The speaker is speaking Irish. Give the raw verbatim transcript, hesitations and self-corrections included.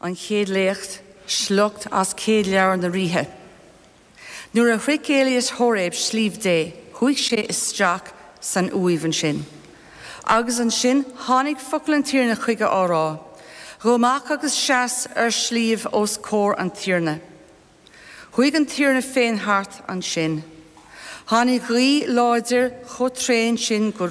An chéad léacht sliocht as céad leabhar na ríthe. Nuair a shroich Éilias Hóiréib sliabh Dé, chuaigh sé isteach san uaimh ansin. Agus ansin tháinig focal an Tiarna chuige á rá, Gabh amach agus seas ar sliabh os comhair an Tiarna. Chuaigh an Tiarna féin thart ansin. Tháinig gaoth láidir chomh tréan sin go